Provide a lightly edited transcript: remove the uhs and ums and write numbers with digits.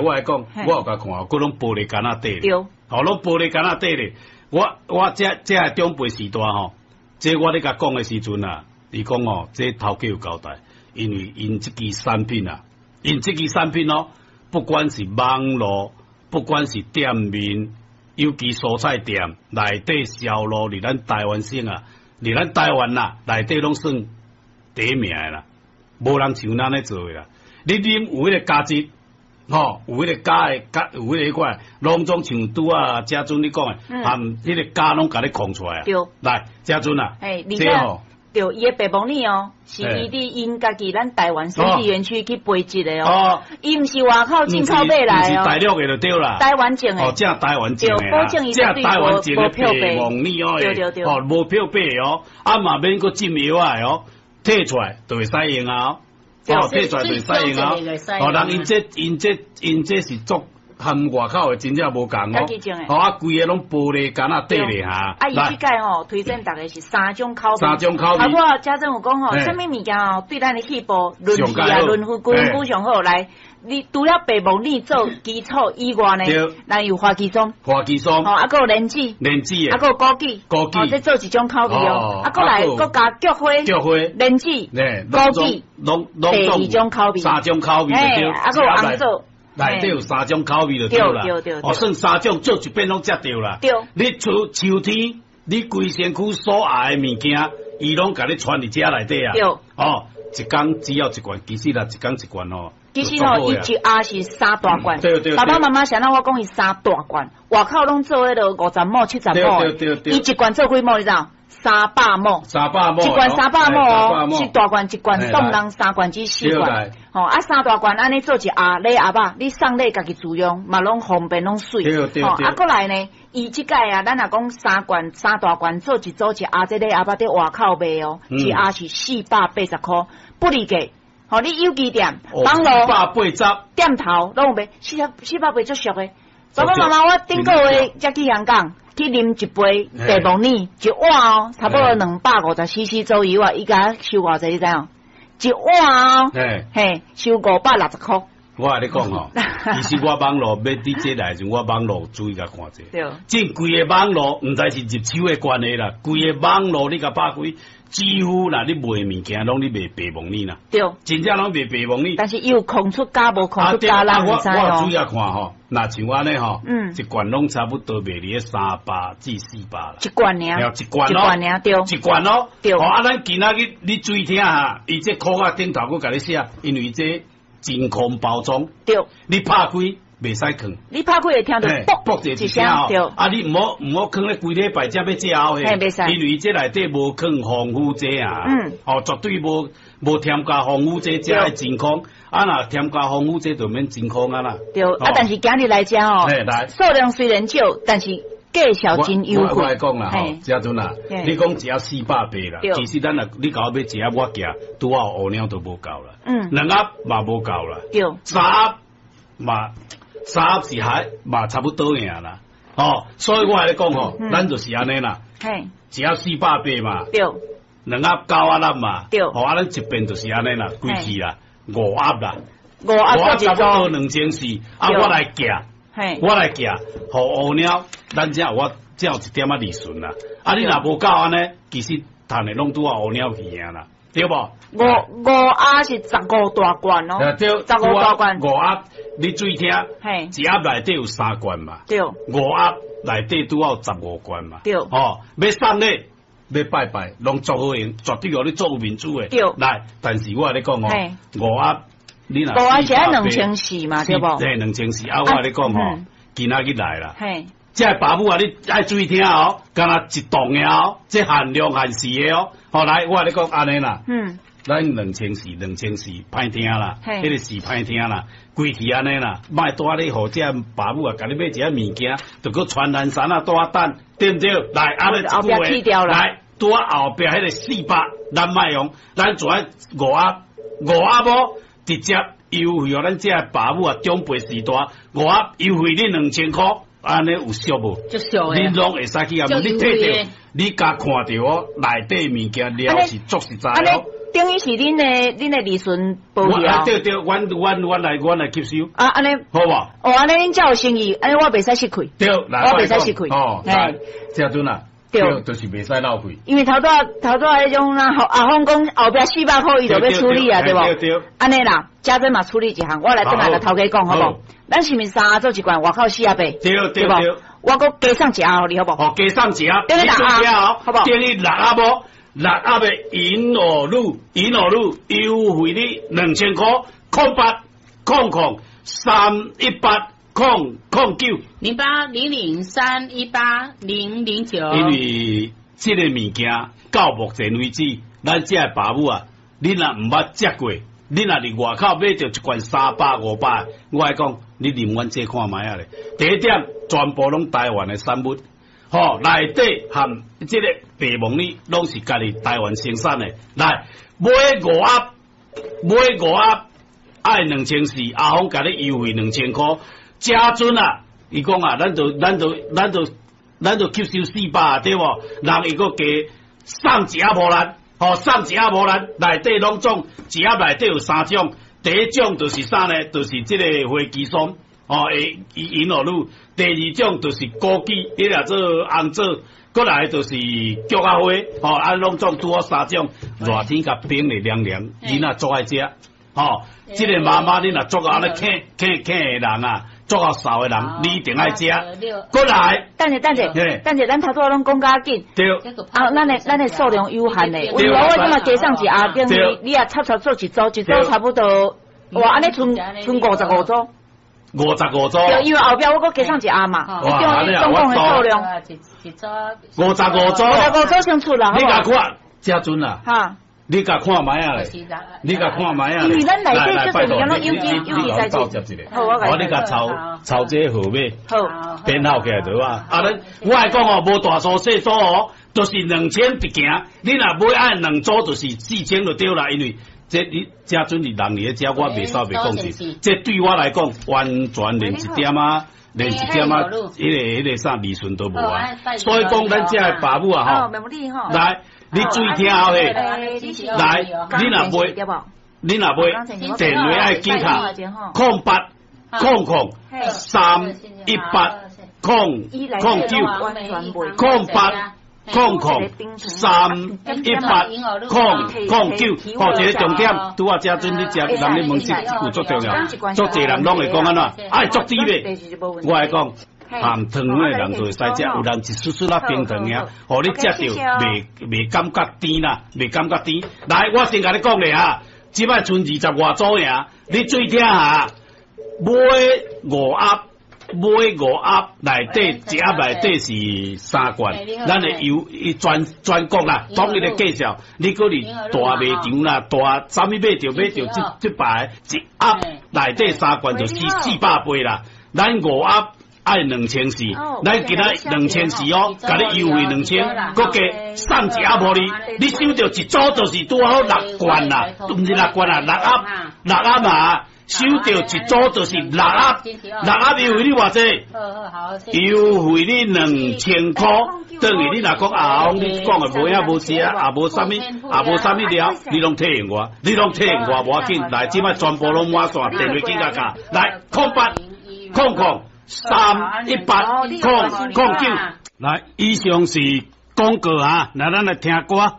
我來講，我有共看，閣攏玻璃罐仔底咧，對，哦，攏玻璃罐仔底咧。我這長輩時代吼，這我咧共講的時陣啊，伊講哦，這頭家有交代，因為𪜶這支產品啊，𪜶這支產品哦，不管是網路，不管是店面，尤其蔬菜店內底銷路，佇咱台灣省啊，佇咱台灣啦，內底攏算第一名的啦，無人像咱咧做的啦。你啉有彼個價值，吼，有彼個加的加，有彼個款，攏總像拄仔嘉尊你講的，含彼個鉀攏共你控出來啊。對，來，嘉尊啊，嘿，而且對，伊的白木耳哦，是伊佇𪜶家己咱台灣生技園區去培植的哦，伊毋是外口進口買來哦，毋是大陸的就對啦，台灣種的，哦，正台灣種的，保證伊正台灣種的白木耳哦，對對對，哦，無漂白的哦，啊嘛免閣浸藥仔的哦，提出來就會使用啊。哦，提出來就會使用啊！哦，人𪜶這是足和外口的真正無仝哦。哦，啊，規个攏玻璃罐仔底咧哈。啊，伊這擺吼推薦逐家是三種口味。三種口味。啊，我家陣有講吼，啥物物件吼對咱的肺部、潤氣啊、潤膚、潤膚上好來。你除了白木耳做基礎以外呢，咱有花旗參。花旗參。哦，啊，閣有蓮子。蓮子啊，閣有枸杞。枸杞。哦，這做一種口味哦。啊，閣來閣加菊花。菊花。蓮子。枸杞。攏第二種口味。三種口味就對。啊，閣有紅棗。內底有三種口味就對啦。哦，算三種做一遍攏食著啦。對。你出秋天，你規身軀所愛的物件，伊攏共你傳佇遮內底啊。對。哦，一工只要一罐，其實啦，一工一罐哦。其實吼，伊一盒是三大罐。對對。爸爸媽媽想讓我講，伊三大罐，外口攏做彼个50畝、70畝。對對對。伊一罐做幾畝？你知影？300畝。300畝。一罐三百畝哦，是大罐一罐送人三罐至四罐。吼啊，三大罐按呢做一盒禮盒仔，你送禮家己自用嘛，攏方便，攏媠。對對。吼啊，閣來呢，伊這擺啊，咱若講三罐三大罐做一組一盒，這禮盒仔佇外口賣哦，一盒是480箍，不離價。吼，你有機店、網路、店頭攏有賣，480足俗的。爸爸媽媽，我頂個月才去香港去啉一杯白木耳，一碗哦，差不多250 cc 左右啊。伊共我收偌濟，你知影？一碗哦，嘿，收560箍。我共你講吼，其實我網路欲佇這來時，我網路注意共看者。對。這規个網路，毋知是入手的關係啦，規個網路你共拍開，幾乎啦，你賣物件攏咧賣白木耳啦。對。真正攏賣白木耳。但是伊有空出價無空出價，咱毋知哦。我有注意看吼，若像按呢吼，一罐攏差不多賣佇咧300至400啦。一罐爾。一罐咯。一罐爾對。一罐咯。對。哦，啊，咱今仔日你注意聽哈，伊這箍仔頂頭閣共你寫，因為這真空包裝，對，你拍開袂使囥，你拍開會聽著啵啵一聲吼，啊，你毋好囥咧規禮拜才欲食後嘿，袂使，因為這內底無囥防腐劑啊，哦，絕對無添加防腐劑，才會真空，啊，若添加防腐劑就免真空啊啦。對，啊，但是今日來遮吼，數量雖然少，但是價數真優惠。我來講啦吼，嘉尊啊，你講一盒480啦，其實咱若你共我買一盒，我寄拄好烏鳥都無夠啦。兩盒嘛無夠啦。三盒嘛，三盒是還嘛差不多爾啦。哦，所以我共你講吼，咱就是按呢啦。一盒480嘛。兩盒9仔粒嘛。哦，啊，咱一遍就是按呢啦，規氣啦，五盒啦。五盒差不多2400，啊，我來寄。我來寄，予烏鳥，咱才有我才有一點仔利潤啦。啊，你若無夠按呢，其實趁的攏拄仔烏鳥去啊啦，對無？五盒是15大罐哦，對，15大罐。五盒，你注意聽，一盒內底有三罐嘛，五盒內底拄好15罐嘛，對。哦，欲送禮，欲拜拜，攏足好用，絕對予你足有面子的。對。來，但是我共你講哦，五盒。你若五盒是愛2400嘛，對無？對，2400。啊，我共你講吼，今仔日來啦。嘿。這爸母啊，你愛注意聽哦，敢若一棟的哦，這限量限時的哦。好，來，我共你講按呢啦。咱2400，2400，歹聽啦，彼個是歹聽啦，規氣按呢啦，莫帶你予這爸母啊，共你買一下物件，就閣傳單衫啊，帶等，對毋對？來，按呢一句話，來，拄仔後壁彼個四百，咱莫用，咱做愛五盒，五盒無？直接優惠予咱這爸母啊，長輩時代，五盒優惠你2000箍，按呢有俗無？足俗的。你攏會使去啊？你睇著，你共看著哦，內底物件料是足實在哦。等於是恁的利潤無去啊？對對，阮來吸收。啊，按呢好無？哦，按呢恁才有生意，按呢我袂使失氣。對，我袂使失氣。哦，來，這陣啊，對，就是袂使漏氣。因為頭拄仔彼種啊，阿峰講後壁400箍伊就欲處理啊，對無？對對。按呢啦，家珍嘛處理一項，我來轉來共頭家講好無？咱是毋是三盒做一罐，外口48，對對對。我閣加送一盒予你好無？哦，加送一盒，等於六盒，好無？等於六盒無？六盒的銀耳乳，銀耳乳優惠你2000箍，0800 318 009 0800318009。因為這個物件到目前為止，咱這个爸母啊，你若毋捌食過，你若佇外口買著一罐300、500，我來講，你啉阮這看覓仔咧。第一點，全部攏台灣的產物。吼，內底含這個白木耳攏是家己台灣生產的。來，買五盒，買五盒愛2400，阿峰共你優惠2000箍。這陣啊，伊講啊，咱就吸收400，對無？人伊閣加送一盒予咱，吼，送一盒予咱，內底攏總一盒內底有三種，第一種就是啥呢？就是這個火雞酸。哦，會銀耳乳，第二種就是枸杞，彼個做紅棗，閣來就是菊仔花，吼，啊，攏總拄好三種，熱天共冰的涼涼，囡仔足愛食，吼，這個媽媽你若足愛按呢輕輕輕的人啊，足夠瘦的人，你一定愛食。閣來，等者等者，等者，咱頭拄仔攏講較緊，對，啊，咱的數量有限的，為我這馬加送一盒，等於你也插插做一組，一組差不多，哇，按呢賰賰55組。 55組，對，因為後壁我閣加送一盒嘛，哇，總共的數量，55組，55組先出啦，你共看，這陣啊，哈，你共看覓仔咧，你共看覓仔咧，因為咱內底這濟物件攏有機有機材質，好，我你共抄抄這個號碼，好，編號起來就好啊。啊，咱我來講哦，無大組細組哦，就是2000直行，你若買愛兩組就是4000就對啦，因為。這你這陣是人佇咧遮，我袂使袂講是，這對我來講完全連一點仔，連一點仔，彼個啥利潤都無啊。所以講，咱遮的爸母啊，吼，來，你注意聽好咧，來，你若買，你若買，電話愛記卡，0800 318 009，0800 318 009，吼，一個重點，拄仔這陣你食，人咧問這句足重要，足濟人攏會講按怎，愛足甜袂？我來講，含糖的人就會使食，有人一絲絲仔冰糖爾，予你食著袂感覺甜啦，袂感覺甜。來，我先共你講咧啊，這擺賰20外組爾，你注意聽哈，買五盒。買五盒內底一盒內底是三罐，咱的有全國啦，統一的介紹。你閣佇大賣場啦，大啥物買著買著這擺一盒內底三罐就480啦。咱五盒愛2400，咱今仔2400哦，共你優惠2000，閣加送一盒予你。你收著一組就是拄好六罐啦，毋是六罐啦，六盒六盒嘛。收著一組就是六盒，六盒優惠你偌濟？優惠你2000箍，等於你若講阿翁，你講的無影無食，也無啥物，也無啥物料，你攏體驗我，你攏體驗我，無要緊。來，這擺全部攏滿線，電話緊共敲，來0800 318 009。來，以上是廣告啊，來咱來聽歌。